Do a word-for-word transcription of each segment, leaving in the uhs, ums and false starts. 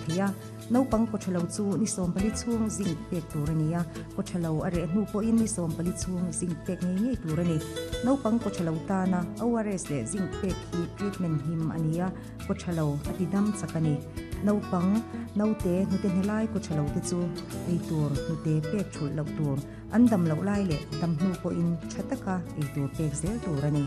theia naupang kawthalo chu ni sawm pali chhung zinc pek tur ani a kawthalo a reh hnu pawhin ni sawm pali chhung zinc pek ngei ngei tur ani naupang kawthalo tana O R S leh zinc pek hi treatment him ani a kawthalo a ti dam chak ani naupang naute hnute hnelai kawthalo te chu ei tur hnute pek thul lo tur an dam lo lai leh dam hnu pawhin tha taka ei tur pek zel tur ani.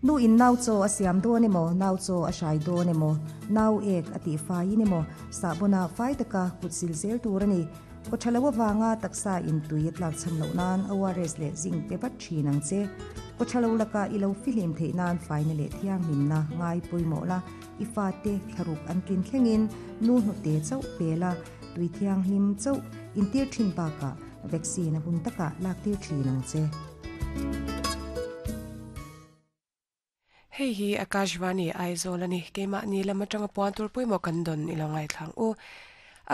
Nu in nau chaw a siam dawn emaw nau chaw a hrai dawn emaw nau ek a tih faiin emaw sahbona fai taka kut sil zel tur ani kawthalo awanga taksa in tui a tlak cham loh nan O R S leh zinc pe vat thin ang che kawthalo laka i lo fihlim theih nan faina leh thianghlimna ngai pawimawh la i fa te thlaruk an tlin thlengin nu hnute chauh pela tui thianghlim chauh intir thin bakah vaccine a hun taka lak tir thin ang che. Hei hi Akashvani Aizawl ani keimah ni lama tanga puan tur pawimawh kan dawn ilo ngai thlang u.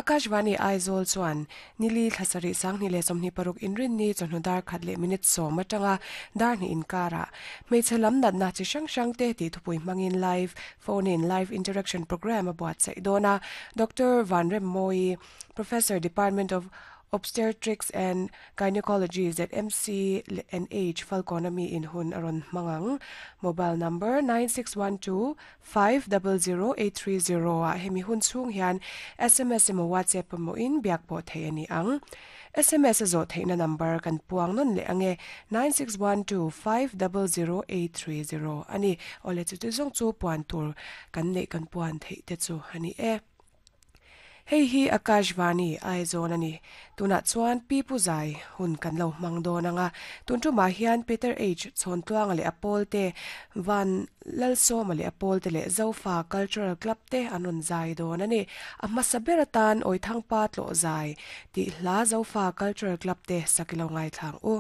Akashvani Aizawl chuan nili thlasarih sanghnih leh sawmhnih paruk inrin ni chawhnu dar khat leh minute sawm atanga dar hnih inkara hmeichhe lam natna chi hrang hrang te tih thupui hmangin live phone in live interaction program a buatsaih dawn a. Doctor Vanrem Moi, Professor, Department of Obstetrics and Gynecology Z M C N H Falconami in hun aron mangang mobile number nine six one two five zero zero eight three zero a hemi hun chung hian S M S emaw WhatsApp emaw in biak pawh thei ani ang. S M S zo theihna number kan puang non le ange nine six one two five zero zero eight three zero ani ole chu chu zong chu puan tur kan nei kan puan thei te chu ani e. Hei hi Akashvani Aizawl ani tuna chuan pi pu zai hun kan lo hmang dawn anga tun tu ma hian Peter H Chhawntluanga leh Apol te Van Lalsawma leh Apol te leh Zofa Cultural Club te an rawn zai dawn ani a hmasa ber atan Awithangpa tlaw zai tih hla Zofa Cultural Club te sakilo ngai thlang u.